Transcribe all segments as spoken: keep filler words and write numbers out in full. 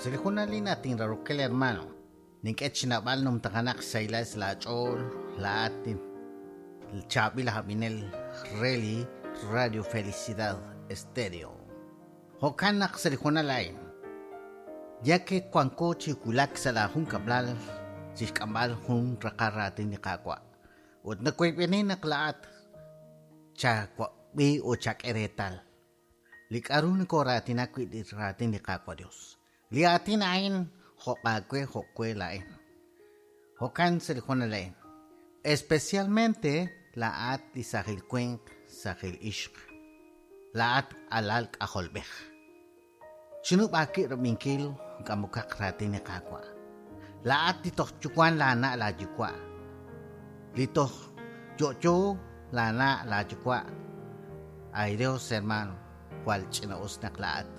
Sa li junal atin rarokel hermano. Nink'e chinab'al numtajanaq xsaylas laach'ool laat chaab'il ajab'inel reli Radio Felicidad Estéreo. Jo'kan naq sa li junal a'in ya que wanko chi wulak sa' la jun kab'lal chixk'amb'al jun raqal raatin li Qaawa' ut nakuyb'eni naq laat chawab'i ut chak'e reetal li k'a'ru nikoraatinak wi' li raatin li Qaawa' Dios. Li aatin a'in jo'qaawe jo'we la'in. Jo'kan sa li junal a'in. Especialmente laat li sajil winq, sajil ixq. Laat alal k'ajolb'ej. Chinub'aaki rab'inkil k'amukaq raatin li Qaawa'. Laat li toj yuwan laana' laayuwa'. Li toj yo'yo laana' laayuwa'. Ay Dios, hermano, jwal ch'ina'us naq laat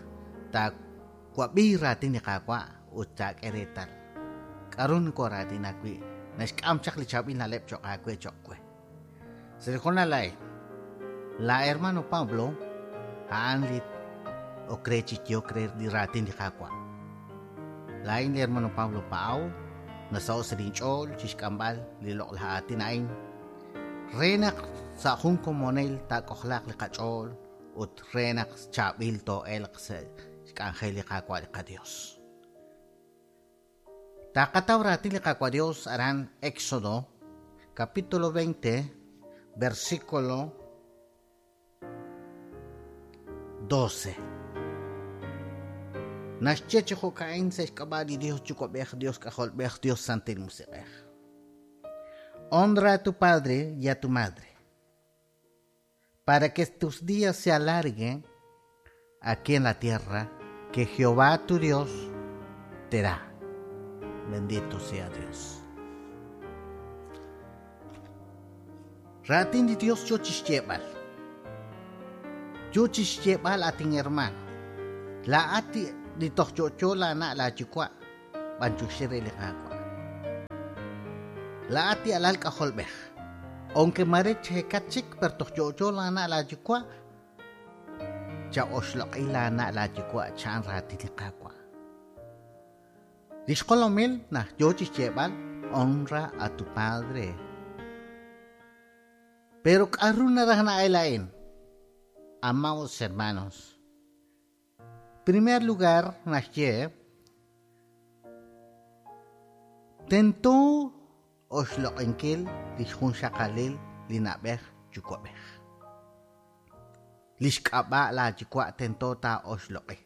taawab'i raatin li Qaawa' ut taak'e reetal. K'a'ru nikoraatinak wi' naxk'am chaq li chaab'il na'leb' cho'q aawe cho'q we. Sa li junal a'in, la hermano Pablo a'an li ok re chi yook re li raatin li Qaawa'. Laa'in li hermano Pablo Paau nasaho' sa' linch'ool chixk'amb'al li loq'laj aatin a'in re naq sa' jun komonil taak'ojlaaq li qach'ool ut re naq chaab'il too'elq sa' xk'anjel li Qaawa' li qaDios. Taqataw raatin li Qaawa' Dios aran Éxodo capítulo veinte versículo doce. Naxye chi jo'ka'in sa' xk'ab'a' li Dios Yuwa'b'ej, Dios K'ajolb'ej, Dios Santil Musiq'ej. Honra a tu padre y a tu madre, para que tus días se alarguen aquí en la tierra que Jehová tu Dios te da. Bendito sea Dios. Raatin li Dios yo chixyeeb'al. Yo chixyeeb'al atin hermano. Laat li toj yo'yo laana' laayuwa' b'anyoxi re li Qaawa'. Laat li alal k'ajolb'ej. Aunque mare chekat chik per toj yo'yo laana' laayuwa' cha'oxloq'i laana' laayuwa' cha'an raatin li Qaawa'. Li xqolomil naj yo chixyeeb'al honra a tu padre. Pero k'a'ru naraj na'el a'in? Amados hermanos, primer lugar naxye tento oxloq'inkil li xjunxaqalil li na'b'ej yuwa'b'ej. Li xk'ab'a' laayuwa' tento taa'oxloq'i.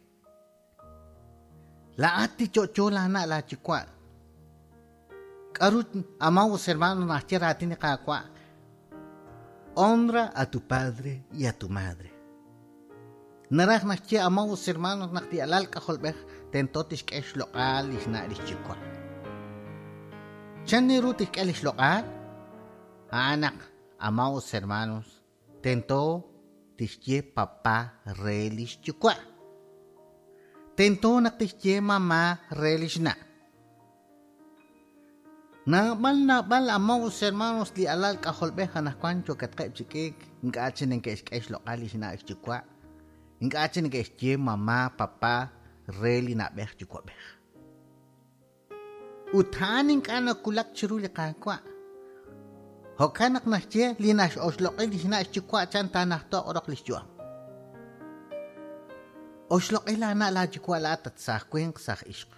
Laat li yo'yo laana' laayuwa'. K'a'ru amados hermanos naxye raatin li Qaawa'? Honra a tu padre y a tu madre. Naraj naxye amados hermanos naq li alal k'ajolb'ej tento tixk'e xloq'al li xna' li xyuwa'. Chan ru tixk'e li xloq'al? A'an naq amados hermanos tento tixye papá re li xyuwa'. Tento naq tixye mamá re li xna'. Naab'al naab'al amados hermanos li alal k'ajolb'ej anaqwan yokatqeb' chi k'iik ink'a' chi neke'xk'e xloq'al li xna' xyuwa'. Ink'a' chi neke'xye mamá papá re li na'b'ej yuwa'b'ej. Ut a'an ink'a' nakulak chiru li Qaawa'. Jo'kan naq naxye li nax'oxloq'i li xna' xyuwa' chan taanajtoq roq li xyu'am. Oxloq'i laana' laayuwa' laat at saj winq saj ixq.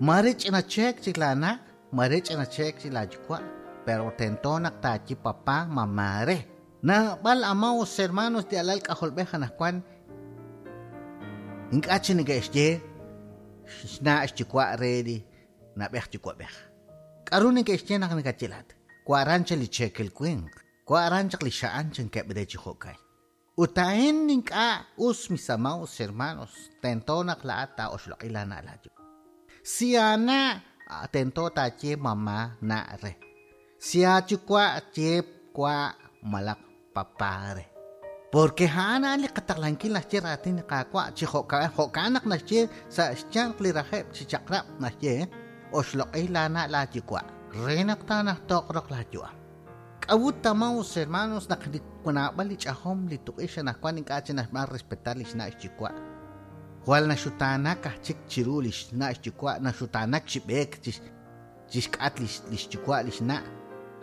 Mare ch'ina cheek chik laana', mare ch'ina cheek chik laayuwa', pero tento naq taaye papá mamá re. Naab'al amados hermanos li alal k'ajolb'ej anaqwan ink'a' chi neke'xye xna' xyuwa' re li na'b'ej yuwa'b'ej. K'a'ru neke'xye naq nakachilat? Wa'ran chaq li cheekel winq, wa'ran chaq li xa'an chankeb' re chi jo'kay. Ut a'in ink'a' us mis amados hermanos, tento naq laat taa'oxloq'i laana' laayuwa'. Si ana' tento taaye mamá na' re. Si aayuwa' ye wa' malaq papá re. Porque a'an a'an li qataqlankil naxye raatin li Qaawa' chi jo'kan jo'kan naq naxye sa' xyanq li rajeb' chi chaq'rab' naxye oxloq'i laana' laayuwa' re naq taanajtoq roq laayu'am. K'a'ut amados hermanos naq li naab'al li ch'ajom li tuq'ix anaqwan ink'a' chi naxb'aan respetar li xna' xyuwa'. Jwal naxutaanak aj chik chiru lix na' xyuwa', naxutaanak chi b'eek chixk'at lix yuwa' lix na'.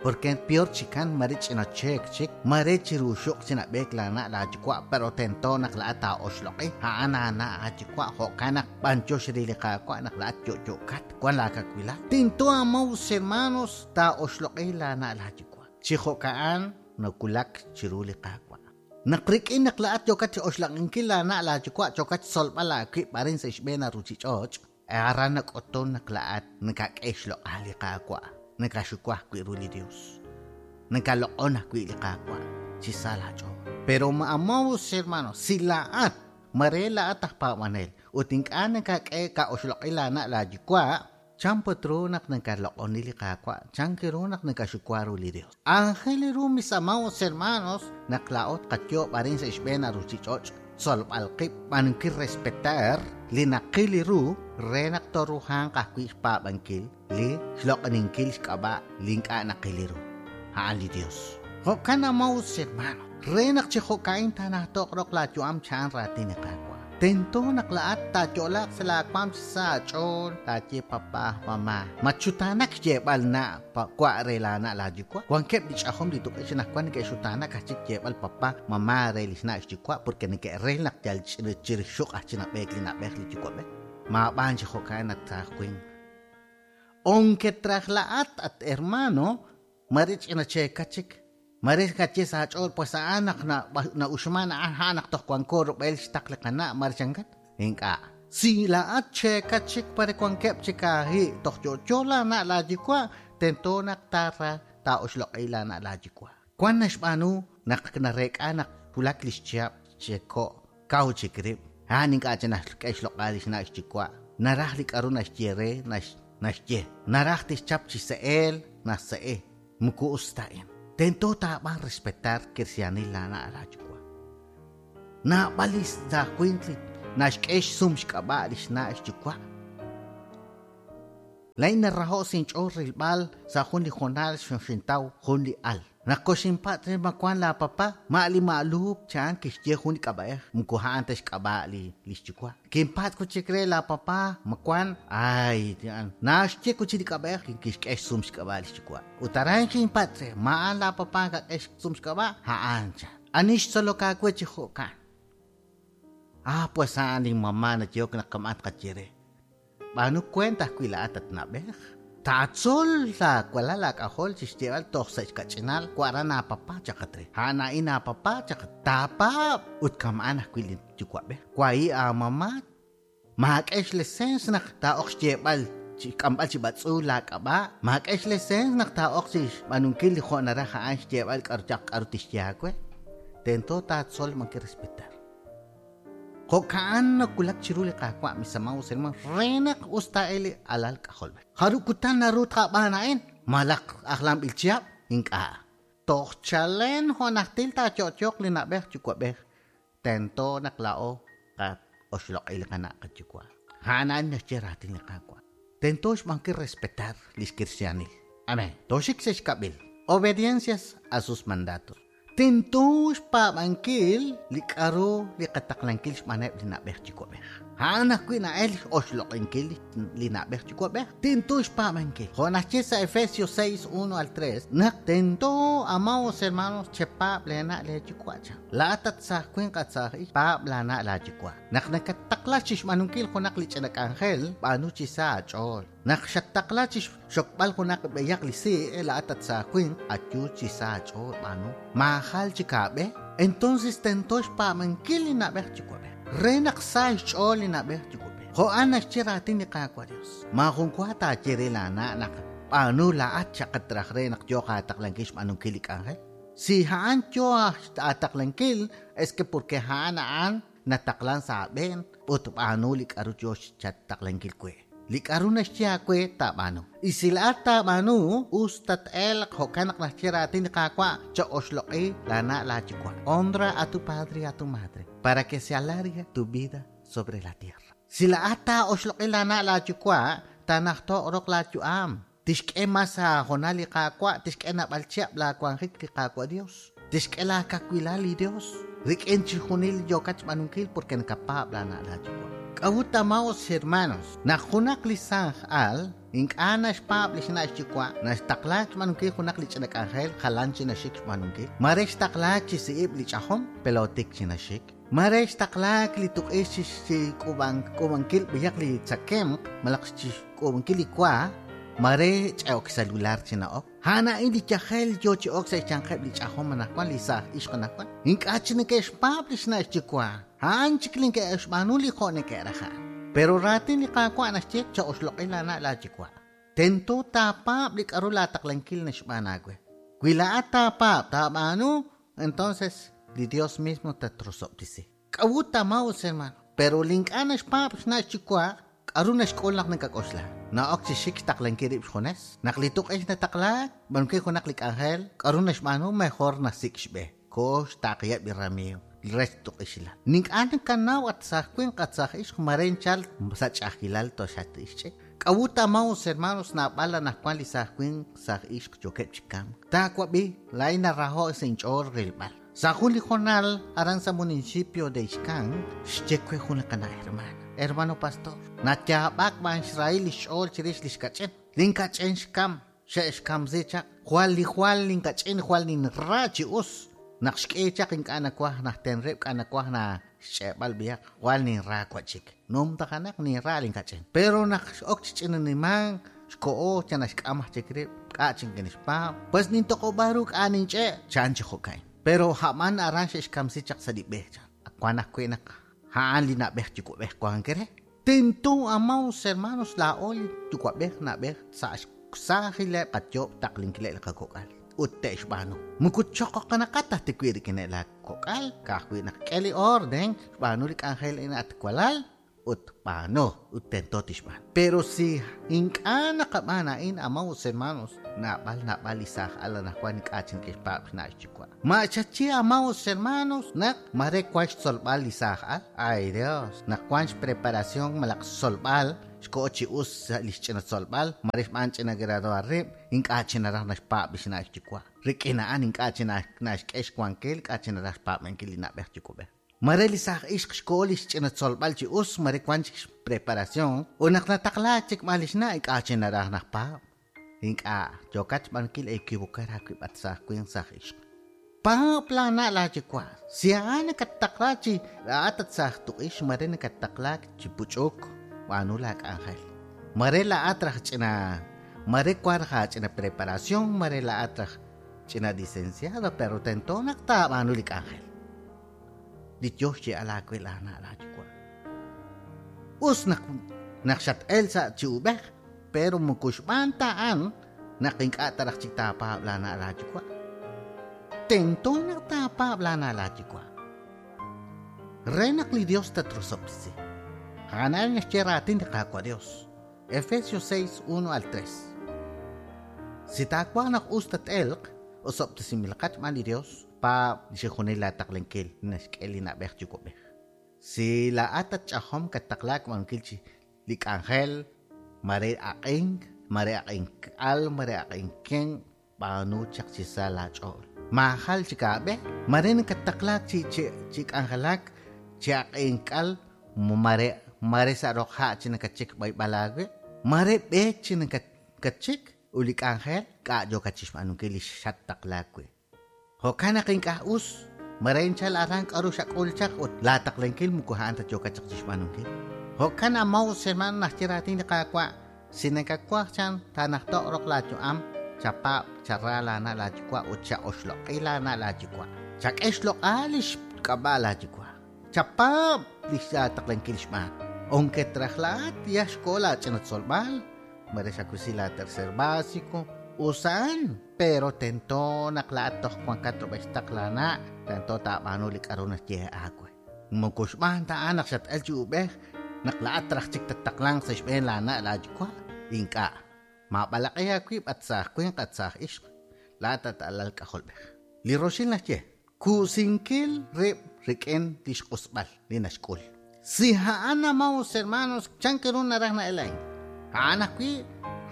Porque peor chikan mare ch'ina cheek chik, mare chiru xuq chinab'eek la na' la yuwa', pero tento naq la'at taa'oxloq'i, a'an aana' aayuwa', jo'kan naq b'anyox re li Qaawa' naq la'at yo'yo'kat, wan laakawilal. Tento amados hermanos taa'oxloq'i la na' la yuwa'. Chi jo'ka'an nawulak chiru li Qaawa'. Naq rik'in naq la'at yookat chi oxloq'inkil la na' la yuwa', yookat xtzolb'al aawib' arin sa' xb'een ruuchich'och', aran nak'utun naq la'at nakak'e xloq'al li Qaawa'. Nakaxuwa ajwi' ru li Dios. Nakaloq'on ajwi' li Qaawa' chi sa laach'ool. Pero amados hermanos, si la'at mare la'at aj paab'anel ut ink'a' nakak'e ka'oxloq'i la na' la yuwa', chan put ru naq nakaloq'oni li Qaawa', chan ru naq nakaxuwa ru li Dios. Ángel ru mis amados hermanos, naq la'ot qatyob' arin sa' xb'een ruuchich'och', tzolb'al qib' b'anunkil respetar li naqil ru re naq toruhanq ajwi' xpaab'ankil li xloq'oninkil xk'ab'a' li ink'a' naqil ru, a'an li Dios. Jo'kan amados hermano, re naq chi jo'ka'in taanajtoq roq laayu'am cha'an raatin li Qaawa'. Tento naq la'at taayo'laaq sa' laawaam chi sa aach'ool, taaye papá, mamá. Machutaanak xyeeb'al na' wa' re la na' laayuwa'. Wankeb' li ch'ajom li tuq'ix anaqwan neke'xutaanak aj chik yeeb'al papá, mamá re lix na' xyuwa' porque neke'ril naq yal chirixuq aj chinab'eek li na'b'ej li yuwa'b'ej. Maab'aan chi jo'ka'an at taajwin. Aunque traj la'at at hermano, mare ch'ina cheeka chik. Mare kache sa aach'ool, pues a'an naq na'uxman a'an a'an naq toj wanko rub'el xtaq li qana' mare chankat. Ink'a'. Si la'at cheeka chik pare wankeb' chik aahi' toj yo'yo la na' laayuwa', tento naq taara taa'oxloq'i la na' laayuwa'. Wan naxb'aanu naq nareek'a naq wulak lix chihab' cheko' kaw chik rib'. A'an ink'a' chik naxk'e xloq'al lix na' xyuwa'. Naraj li k'aru naxye re, naxye. Naraj tixchap chi se'eel, naxse'e. Muku us ta a'in. Tento taab'an respetar kirsianil la na' laayuwa'. Naab'al li saajwinq li naxk'e xsum xk'ab'a' lix na' xyuwa'. Lain naraho' sinch'ool rilb'al sa' jun li jonal xintaw jun li al. Naq koxinpat' re ma wan la papá, ma' li ma'luub cha'an kixye jun li k'ab'a'ej, muku a'an ta xk'ab'a' li lix yuwa'. Kinpat' kuchik re la papá, ma wan, ay, naxye kuchik li k'ab'a'ej, kixk'e xsum xk'ab'a' lix yuwa'. Ut aran xinpat' re, ma a'an la papá kak'e xsum xk'ab'a', a'an chan. Ani xtzolok aawe chi jo'kan. Ah, pues a'an li mamá nayehok naq kama'an tqaye re. B'aanu kuent ajwi' la'at at na'b'ej. Taatzol laawalal laak'ajol chi xyeeb'al toj sa' xkach'inal wa'ran aapapá chaqat re. A'an a'in aapapá chaqat. Taapaab' ut kama'an ajwi' li yuwa'b'ej. Wahi' aamamá. Maak'e xlesens naq taa'oq xyeeb'al chi k'amb'al chi b'atz'uul laak'ab'a'. Maak'e xlesens naq taa'oq chi xb'aanunkil li jo' naraj a'an xyeeb'al k'aru chaq k'aru tixye aawe. Tento taatzol manki respetar. Jo'ka'an nawulak chiru li Qaawa' mis amados hermanos, re naq us taa'el li alal k'ajolb'ej. Jaru kutan naru tqab'aan a'in, malaq ajlanb'il chihab', ink'a'. Toj chalen jo' najtil taayo'yoq li na'b'ej yuwa'b'ej, tento naq la'o qa'oxloq'i li qana' qayuwa'. A'an a'an naxye raatin li Qaawa'. Tento xb'aankil respetar lix kirsianil. Amén. Toxik sa' xkab'il. Obediencias a sus mandatos. Tento xpaab'ankil li k'aru li qataqlankil xb'aaneb' li na'b'ej yuwa'b'ej. A'an ajwi' na'el oxloq'inkil li na'b'ej yuwa'b'ej. Tento xpaab'ankil. Jo' naxye sa' Efesios seis, uno al tres, naq tento, amados hermanos, chepaab' leena' leeyuwa' chan. La'at at saajwinq at saaj'ix, paab' laana' laayuwa'. Naq nakataqla chi xb'aanunkil junaq li ch'ina k'anjel, b'aanu chi sa aach'ool. Naq xattaqla chi xokb'al junaq b'eyaq li si', la'at at saajwinq, ayu chi sa aach'ool b'aanu. Maajal chi kaab'e, entonces tento xpaab'ankil li na'b'ej yuwa'b'ej. Re naq sa xch'ool li na'b'ej yuwa'b'ej. Jo'an naxye raatin li Qaawa' Dios. Maajun wa taaye re laana' naq b'aanu la'at chaqat raj re naq yooq aataqlankil xb'aanunkil li k'anjel. Si a'an yoo aataqlankil, es que porque a'an a'an nataqlan sa' aab'een ut b'aanu li k'aru yoo chataqlankil we. Li k'aru naxye aawe taab'aanu. Y si la'at taab'aanu, us tat'elq jo'kan naq naxye raatin li Qaawa' cha'oxloq'i laana' laayuwa'. Honra a tu padre y a tu madre para que se alargue tu vida sobre la tierra. Si la'at taa'oxloq'i laana' laayuwa', taanajtoq roq laayu'am. Tixk'e mas aajonal li Qaawa', tixk'e naab'al chihab' laawanjik li Qaawa' Dios. Tixk'e laakawilal li Dios. Rik'in chixjunil yookat xb'aanunkil porque nakapaab' laana' laayuwa'. K'a'ut amados hermanos, naq junaq li saaj al ink'a' naxpaab' li xna' xyuwa', naxtaqlaak xb'aanunkil junaq li ch'ina k'anjel jalan chi naxik xb'aanunkil. Mare xtaqlaak chi si'ib' li ch'ajom, pelotik chi naxik. Mare xtaqlaak li tuq'ix chi chi k'ub'ankil b'iyaq li tzakemq, malaq chi k'ub'ankil li wa, mare ch'e'ok celular chi na'ok. Ha'an a'in li yajel yo chi ok sa' xyanqeb' li ch'ajom anaqwan li saaj ixq anaqwan. Ink'a' chi neke'xpaab' li xna' xyuwa'. Ha'an chik li neke'xb'aanu li jo' neke'raj a'an. Pero raatin li Qaawa' naxye cha'oxloq'i laana' laayuwa'. Tento taapaab' li k'a'ru laataqlankil naxb'aan aawe. Wi laa'at taapaab' taab'aanu, entonces li Dios mismo tatrosob'tisi. K'a'ut amados hermano, pero li ink'a' naxpaab' xna' xyuwa', k'a'ru naxk'ul naq nakak'oxla. Na'ok chi xik xtaqlankil rib' xjunes. Naq li tuq'ix nataqlaak, b'anunkil junaq li k'anjel, k'a'ru naxb'aanu mejor nasik' xb'e. Ko xtaqiyeb' li ramiiw. Rech tuq'ixilal. Ink'a' nakanaw at saaj winq at saaj ixq mare nchal sa' ch'a'ajkilal toxatixch'ik. K'a'ut amados hermanos naab'al anaqwan li saaj winq saaj ixq yookeb' chi kamk. Taawab'i laa'in naraho' sa' inch'ool rilb'al. Sa' jun li jonal aran sa' municipio de Ixcán xye we jun li qana' hermana. Hermano pastor, nayaab'ak b'an xrahil li xch'ool chirix li xkach'in. Linkach'in xkam, xe'xkamsi chaq. Jwal li jwal linkach'in jwal ninra chi us. Naq xk'e chaq ink'a' nawaj najten rib' k'a nawaj na xch'e'b'al b'iyaq jwal ninra wachik. Num tajanaq ninra linkach'in. Pero naq x'ok chi ch'inanimank xko'o cha naxk'am aj chik rib' k'a' chinkinixpaab'. Pues nintoq'ob'a ru k'a' ninch'e' chan chi jo'kan. Pero ha'man aran xe'xkamsi chaq sa' li b'e chan. Wan ajwi' naq ha'an li na'b'ej yuwa'b'ej wank re. Tento amados hermanos laa'o li yuwa'b'ej na'b'ej sa' xsaajileb' qayob' taqlinkileb' li qakok'al. Ut te'xb'aanu. Muku choqoqanaqat aj tiwi' rik'ineb' laakok'al, ka'ajwi' naq k'e li orden, xb'aanu li k'anjel a'in at walal, ut b'aanu, ut tento tixb'aanu. Pero si ink'a' naqab'aan a'in, amados hermanos, naab'al naab'al li saaj al anaqwan ink'a' chi neke'xpaab' xna' xyuwa'. Ma'xachi amados hermanos, naq mare wan xtzolb'al li saaj al. Ay Dios, naq wan xpreparación malaq xtzolb'al, xko'o chi us li xch'ina tzolb'al, mare xb'aan ch'ina graduar rib', ink'a' chi naraj naxpaab' li xna' xyuwa'. Rik'in a'an ink'a' chi naxk'e xwankil, ink'a' chi naraj xpaab'ankil li na'b'ej yuwa'b'ej. Mare li saaj ixq xko'o li xch'ina tzolb'al chi us, mare wan chik xpreparación, ut naq nataqlaak chik b'aan li xna' ink'a' chi naraj najpaab'. Ink'a' yookat xb'aanunkil equivocar aawib' at saaj winq saaj ixq. Paab' laana' laayuwa'. Si a'an nakattaqlaak chi laa'at at saaj tuq'ix, mare nakattaqlaak chi puch'uk, b'aanu laak'anjel. Mare laa'at raj ch'ina, mare wan raj aach'ina preparación, mare laa'at raj ch'ina licenciado, pero tento naq taab'aanu li k'anjel. Li Dios xye'al aawe laana' laayuwa'. Us naq naq xat'el sa' chi ub'ej, pero muku xb'aan ta a'an naq ink'a' ta raj chik taapaab' laana' laayuwa'. Tento naq taapaab' laana' laayuwa'. Re naq li Dios tatrosob'tesi. A'an naxye raatin li Qaawa' Dios. Efesios seis, uno al tres. Si taawaj naq us tat'elq, osob'tesinb'ilaqat xb'aan li Dios, paab' li xjunil laataqlankil naxk'e li na'b'ej yuwa'b'ej. Si laa'at tatch'ajom kattaqlaak b'aanunkil chi li k'anjel, mare aq'ink, mare aq'ink'al, mare aq'inken, b'aanu chaq chi sa' laach'ool. Maajal chik aab'e, mare nakattaqlaak chi chi chi k'anjelak, chi aq'ink'al, mare mare sa' roq ha' chi nakachik b'ayb'al aawe, mare b'eek chi nakatchik ut li k'anjel k'a' yookat chi xb'aanunkil li xattaqlaak wi'. Jo'kan naq ink'a' us, mare inchal aran k'a'ru xak'ul chaq ut laataqlankil muku a'an ta yookat chaq chi xb'aanunkil. Jo'kan amados hermano naxye raatin li Qaawa', si nakawaj chan taanajto' roq laayu'am, chapaab' chara laana' laayuwa' ut cha'oxloq'i laana' laayuwa'. Chak'e xloq'al li xk'ab'a' laayuwa'. Chapaab' li xaataqlankil xb'aan. Aunque trajlaat ya xko'o laach'ina tzolb'al, mare xakusi la tercer básico, usan, pero tento naq laa'at toj wankat rub'el xtaq laana', tento taab'aanu li k'a'ru naxye aawe. Muku xb'aan ta a'an naq xat'el chi ub'ej, naq laa'at raj chik tattaqlanq sa' xb'een laana' laayuwa', ink'a'. Maab'alaq'i aawib' at saaj winq at saaj ixq, laa'at at alal k'ajolb'ej. Li roxil naxye, kusinkil rib' rik'in li xq'usb'al li naxk'ul. Si a'an amados hermanos, chan keru naraj na'el a'in. A'an ajwi'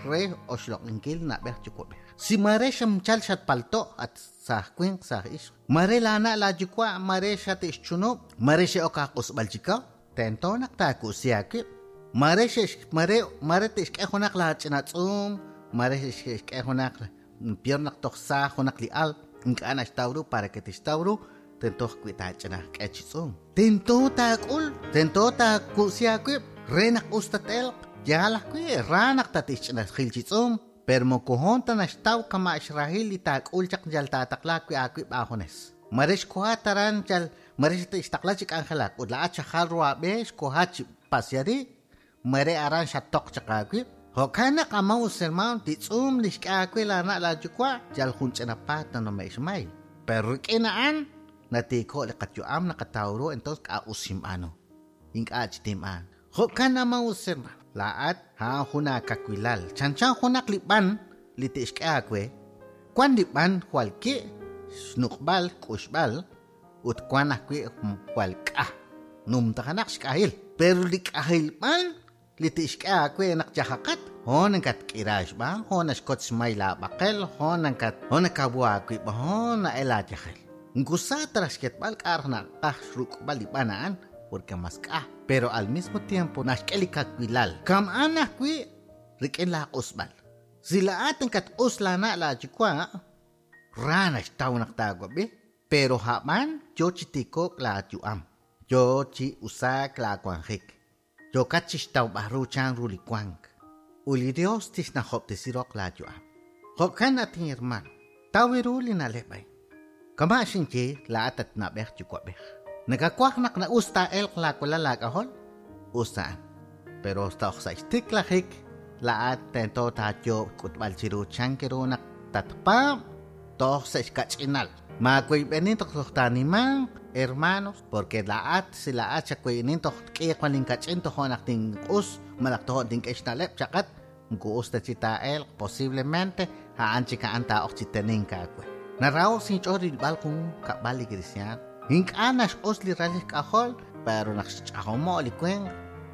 re oxloq'inkil na'b'ej yuwa'b'ej. Si mare xamchal xatpalto' at saaj winq saaj ixq, mare laana' laayuwa', mare xate'xchunub', mare xe'ok aaq'usb'al chikaw, Tento naq taaku'si aawib'. Mare xe'x mare mare te'xk'e junaq laach'ina tz'uum, mare xe'xk'e junaq peor naq toj sa junaq li al, ink'a' naxtaw ru para que tixtaw ru, tento ajwi' taach'ina k'e chi tz'uum. Tento taak'ul, tento taaku'si aawib' re naq us tate'elq. Yaal ajwi' ra naq tatixch'ina jil chi tz'uum, pero moko hoon ta naxtaw kama' xrahil li taak'ul chaq yal taataqla ajwi' aawib' aajunes. Mare xkoha taran yal mare xtaqla chi k'anjelak ut laa'at xajal ru aab'e xkoha chi pasiari, mare aran xatoq chaq aawib'. Jo'kan naq amaos hermano li tz'uum li xk'e aawe laana' laayuwa' yal jun ch'ina paat nanome'k xmay. Pero rik'in a'an natiiko' li qayu'am naqataw ru entonces k'a us xinb'aanu. Ink'a' chi tinb'aan. Jo'kan amaos hermano laa'at a'an jun aakawilal. Chanchan junaq li b'an li te'xk'e aawe. Wan li b'an jwal ki' xnuq'b'al k'uxb'al ut wan ajwi' jwal k'aj numtajanaq xk'ajil. Pero li k'ajil b'an li te'xk'e aawe naq yajaqat hoon nakatk'ira xb'aan, hoon naxkotz xmay laab'aqel, hoon nakat hoon nakawu aawib', hoon na'el aayajel. Nkusa tras xketb'al k'ar naqaj xruk'b'al li b'an a'an porque mas k'aj, pero al mismo tiempo naxk'e li kawilal. Kam'an ajwi' rik'in laaq'usb'al. Si laa'at nakatq'us laana' laayuwa', ra naxtaw naq taawab'i, pero hab'an yo chi tiko'k laayu'am, yo chi usaak laawanjik, yokat chi xtawb'al ru chan ru li wank. Ut li Dios tixnajob'tesi roq laayu'am. Jo'kan at hermano, taw ru li na'leb' a'in. Kama' xinye laa'at at na'b'ej yuwa'b'ej. Nakakuaj naq na'us taa'elq laawalal laak'ajol, us a'an. Pero toj sa' xtiklajik laa'at tento taayoob' k'utb'al chiru chan ru naq tatpaab' toj sa' xkach'inal. Maaweyb'enin toj toj taanimanq, hermanos, porque laa'at si laa'at xaweyb'enin toj k'iiq wan linkach'in toj naq tinq'us malaj toj tink'e xna'leb' chaqat, moko us ta chi taa'elq posiblemente a'an chik a'an taa'oq chi tenink aawe. Naraho sinch'ool rilb'al jun kab'al li cristiano. Ink'a' naxq'us li ral xk'ajol, pero naq xch'ajomo' li winq,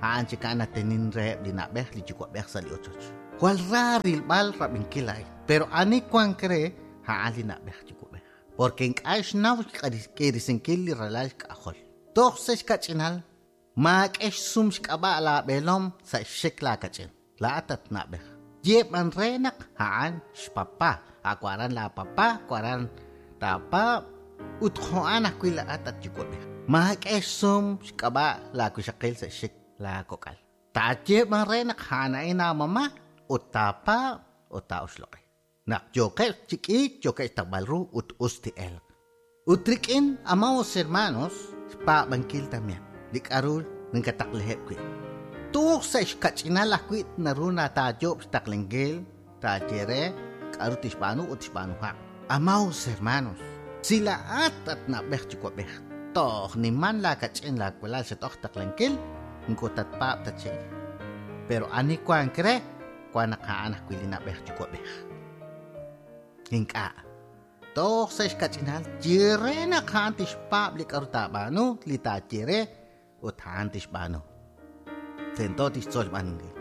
a'an chik a'an natenin reheb' li na'b'ej li yuwa'b'ej sa' li ochoch. Jwal ra rilb'al rab'inkil a'in, pero ani wank re a'an li na'b'ej yuwa'b'ej. Porque ink'a' xnaw xk'irisinkil li ralal xk'ajol. Toj sa' xkach'inal, maak'e xsum xk'ab'a' laab'eelom sa' xxik laakach'in. Laa'at at na'b'ej. Yeb'an re naq a'an xpapá, akwaran laapapá, kwaran taapa, ut jo'an ajwi' laa'at at yuwa'b'ej. Maak'e xsum xk'ab'a' laawixaqil sa' xxik laakok'al. Taayeb'an re naq a'an a'in aamama ut taapa ut taa'oxloq'i. Naq yoqeb' chi k'iik yoqeb' xtawb'al ru ut us ti'elq. Ut rik'in amaos hermanos xpaab'ankil también li k'aru ninkataqleheb' wi'. Toj sa' xkach'inal ajwi' naru nataayob' xtaqlenkil taaye re k'aru tixb'aanu ut tixb'aanuhaq. Amaos hermanos, si laa'at at na'b'ej yuwa'b'ej toj niman laakach'in laawalal xat'oq taqlenkil, moko tatpaab' ta chik. Pero ani wank re wan naq a'an ajwi' li na'b'ej yuwa'b'ej. Ink'a'. Toj sa' xkach'inal ye re naq a'an tixpaab' li k'aru taab'aanu, li taaye re ut a'an tixb'aanu. Tento tixtzol xb'aanunkil.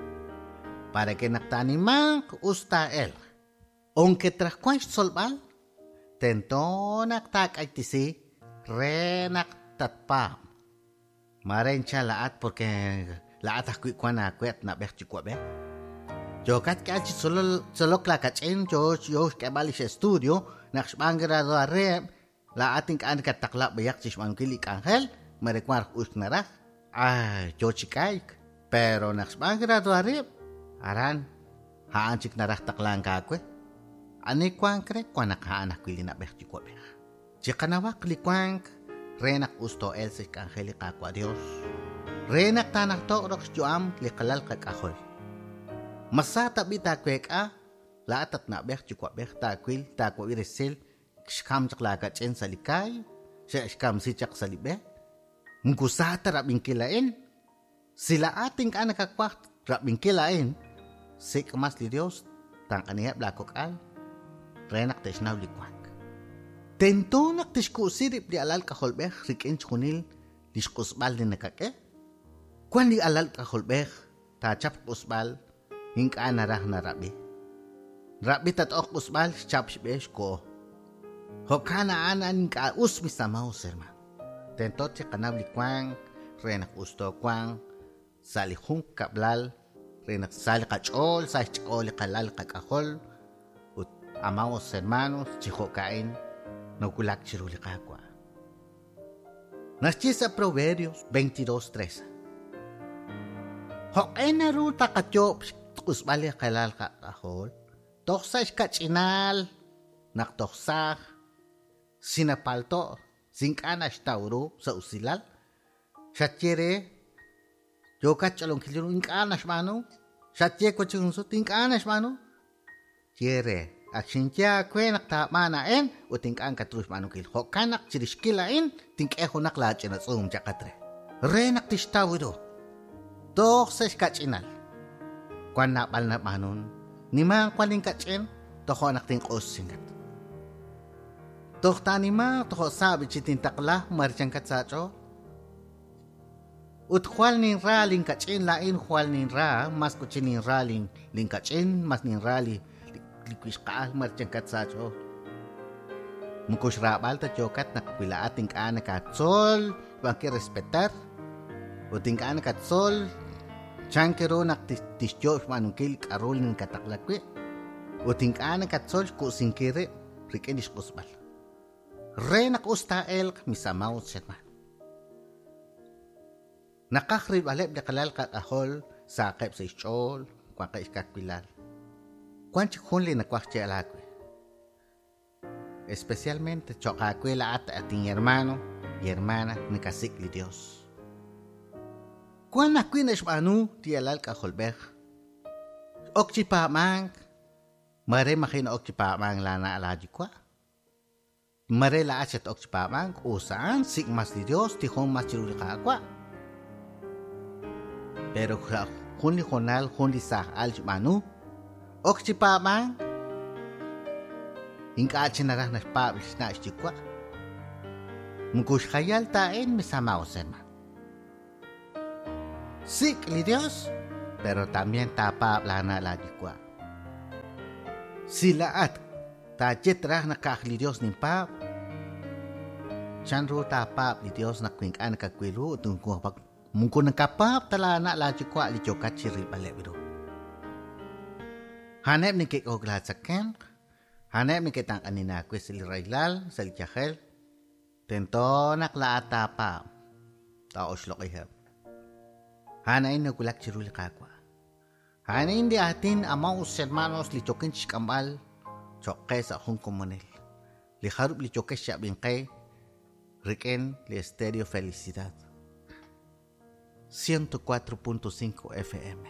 Para que naq taanimanq us taa'elq. Aunque tras wan xtzolb'al, tento naq taak'aytisi re naq tatpaab'. Mare incha laa'at porque laa'at ajwi' wan aawe at na'b'ej yuwa'b'ej. Yokat k'al chi tzolok laakach'in, yo yo xk'eb'al li xestudio, naq xb'aan graduareb', laa'at ink'a' nakattaqla b'ayaq chi xb'aanunkil li k'anjel, mare wan us naraj. Ay, yo chi k'ayk. Pero naq xb'aan graduareb', aran a'an chik naraj taqlank aawe. Ani wank re wan naq a'an ajwi' li na'b'ej yuwa'b'ej. Chiqanawaq li wank re naq us too'el sa' xk'anjel li Qaawa' Dios. Re naq taanajto'q roq xyu'am li qalal qak'ajol. Masa tab'i taaweek'a laa'at at na'b'ej yuwa'b'ej taawil taawab'i resil xkam chaq laakach'in sa' li kaay, xe'xkamsi chaq sa' li b'e. Moko sa ta rab'inkil a'in. Si laa'at ink'a' nakawaj rab'inkil a'in, sik' mas li Dios tanq'aniheb' laakok'al re naq te'xnaw li wank. Tento naq tixku'si rib' li alal k'ajolb'ej rik'in xjunil li xq'usb'al li nakak'e. Wan li alal k'ajolb'ej taachap q'usb'al ink'a' naraj narab'i. Rab'i tat'oq q'usb'al xchap xb'e xko'o. Jo'kan a'an ink'a' us mis amaos hermano. Tento chiqanaw li wank re naq us toowanq sa' li jun kab'lal, re naq sa' li qach'ool, sa' xch'ool li qalal qak'ajol, ut amados hermanos, chi jo'ka'in nawulak chiru li Qaawa'. Naxye sa' Proverbios veintidós trece. Jo'q'e naru taqayoob' xq'usb'al li qalal qak'ajol, toj sa' xkach'inal, naq toj saaj, sinapalto', sink'a' naxtaw ru sa' usilal, xatye re, yookat ch'olonkil ru ink'a' naxb'aanu, xatye wachik jun sut ink'a' naxb'aanu, ye re, ak xinye aawe naq taab'aan a'in ut ink'a' nkatru xb'aanunkil. Jo'kan naq chirixkil a'in tink'e junaq laach'ina tz'uum chaqat re. Re naq tixtaw ru. Toj sa' xkach'inal. Wan naab'al nab'aanun, nimaanq wan inkach'in, tojo' naq tinq'us chinkat. Toj taanimaanq tojo' saab'i chi tintaqla marchankat sa' ach'ool. Ut jwal ninra linkach'in la'in jwal ninra, mas kuchi ninra lin linkach'in, mas ninra li li wixqa'al marchankat sa' ach'ool. Moko xraab'al ta yookat naq wila'at ink'a' nakatzol, b'an respetar, ut ink'a' nakatzol chan ru naq tixyoob' xb'aanunkil k'a'ru li nakataqla wi', ut ink'a' nakatzol xku'sinkil rib' rik'in li xq'usb'al. Re naq us taa'elq, mis amados hermanos. Naqaj rilb'aleb' li qalal qak'ajol saqeb' sa' xch'ool, wanqeb' xkawilal. Wan chik jun li nawaj xyeeb'al aawe. Especialmente cho'q aawe la'at atin hermano y hermana nakasik' li Dios. Wan ajwi' naxb'aanu li alal k'ajolb'ej. Ok chi paab'ank, mare maji' na'ok chi paab'ank laana' laayuwa'. Mare la'at xat-ok chi paab'ank, us a'an sik' mas li Dios, tijon mas chiru li Qaawa'. Pero jun li jonal, jun li saaj al xb'aanu, ok chi paab'ank, ink'a' chi naraj naxpaab' li xna' xyuwa'. Moko xjayal ta a'in, mis amados hermanos. Sik' li Dios, pero también taapaab' laana' laayuwa'. Si la'at taaye traj naq ka'aj li Dios ninpaab', chan ru taapaab' li Dios naq ink'a' nakawil ru ut moko nakapaab' ta laana' laayuwa' li yookat chi rilb'aleb' ru. A'aneb' neke'k'ok laatzakemq, a'aneb' neke'tanq'anin aawe sa' li rahilal, sa' li yajel. Tento naq la'at taapaab', taa'oxloq'iheb'. A'an a'in nawulak chiru li Qaawa'. A'an a'in li aatin, amados hermanos, li yookin chixk'amb'al cho'q qe sa' jun komonil. Li jarub' li yookex xab'inqe rik'in li Estéreo Felicidad ciento cuatro punto cinco F M.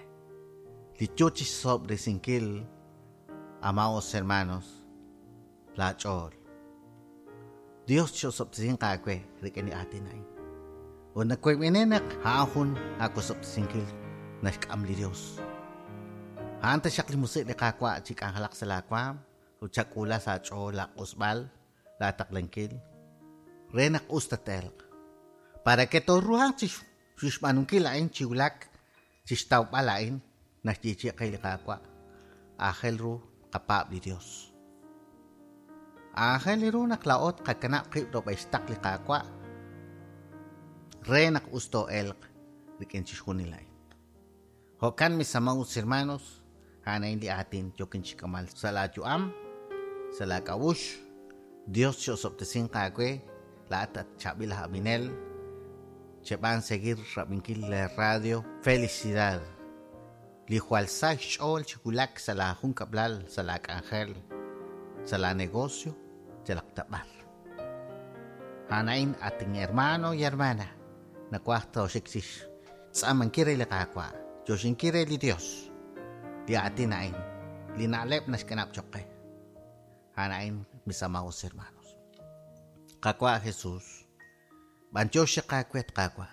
Li yo chi xsob'resinkil, amados hermanos, laach'ool. Dios xosob'tesinq aawe rik'in li aatin a'in. Ut nakuyb'ine naq a'an jun aakosob'tesinkil naxk'am li Dios. A'an taxaq li musiq' li Qaawa' chi k'anjelaq sa' laawaam, ut chak'uula sa' ach'ool laaq'usb'al, laataqlankil, re naq us tateelq. Para que tooruhanq chi xb'aanunkil a'in chi wulak, chi xtawb'al a'in, naxyeechi'i qe li Qaawa', aajel ru qapaab' li Dios. Aajel ru naq laa'ot qakanab' qib' rub'el xtaql li Qaawa' re naq us too'elq rik'in chixjunil a'in. Jo'kan, mis amados hermanos, a'an a'in li aatin yookin chixk'amal sa' laayu'am, sa' laak'a'uxl. Dios xosob'tesinq aawe, la'at at chaab'il aj ab'inel, cheb'an seguir rab'inkil la radio Felicidad. Li jwal sa xch'ool chi wulak sa' la jun kab'lal, sa' la k'anjel, sa' la negocio, yalaq tab'ar. A'an a'in atin hermano y hermana, nawaj tooxik chi xtz'aamankil re li Qaawa', yoxinkil re li Dios. Li aatin a'in, li na'leb' naxkanab' cho'q qe. A'an a'in, mis amados hermanos. Qaawa' Jesús, b'antiox xaqaawe Qaawa'.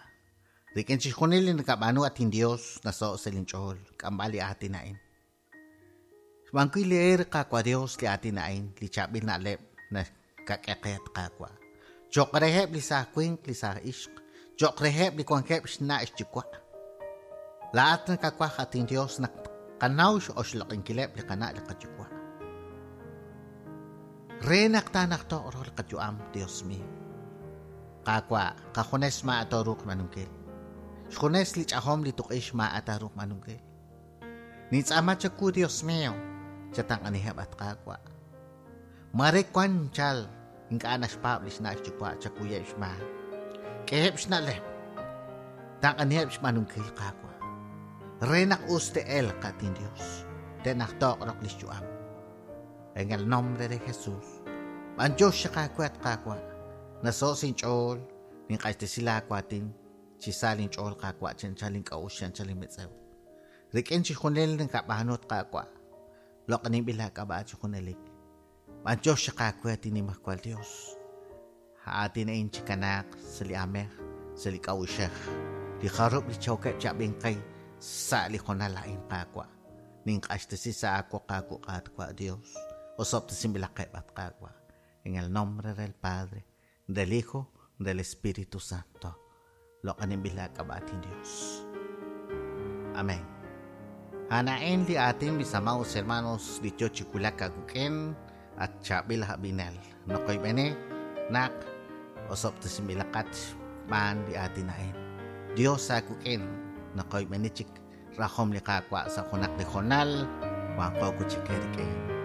Rik'in chixjunil li nakab'aanu atin Dios naso' sa' linch'ool, k'amb'al li aatin a'in. Xb'aan wi' li eer Qaawa' Dios li aatin a'in, li chaab'il na'leb' nakak'e qe Qaawa'. Cho'q reheb' li saaj winq, li saaj ixq, cho'q reheb' li wankeb' xna' xyuwa'. La'at nakawaj atin Dios naq qanaw x'oxloq'inkileb' li qana' li qayuwa'. Re naq taanaqtoq ru li qayu'am, Dios mío. Qaawa', qajunes ma' tooruuq xb'aanunkil. Xjunes li ch'ajom li tuq'ix maa'at aruq b'aanunkil. Nintz'aama chawu, Dios mío, chatanq'aniheb' at Qaawa'. Mare wan chal ink'a' naxpaab' li xna' xyuwa' chakuyeb' xmaak. K'eheb' xna'leb'. Tanq'aniheb' xb'aanunkil Qaawa'. Re naq us te'elq atin Dios. Te'najtoq roq li xyu'am. En el nombre de Jesús. B'anyox xaqaawe at Qaawa'. Naso' sinch'ool, ninq'axtesi laawatin, chi sa linch'ool Qaawa' chanchal ink'a'uxl chanchal inmetz'ew. Rik'in chixjunil ninkab'aanu at Qaawa'. Loq'aninb'il laak'ab'a' chi junelik. B'anyox xaqaawe at Nimajwal Dios. Aatin a'in chikanaaq sa' li aamej, sa' li k'a'uxej. Li jarub' li chawkeb' chab'inqay sa' li jonal a'in Qaawa'. Ninq'axtesi sa' aawoq aawu Qaawa' Dios. Osob'tesinb'ilaqeb' at Qaawa'. En el nombre del Padre, del Hijo, del Espíritu Santo. Loq'aninb'il laak'ab'a' atin Dios. Amén. Anaen li aatin mis amados hermanos li yo chikulak akuk'en at chaab'il hab'inel. Noqoyb'ene naq osob'tesinb'ilaqat xb'aan li aatin a'in. Dios akuk'en noqoyb'ene chik rajom li Qaawa' sa' junaq li jonal wanqo kuchik rik'in.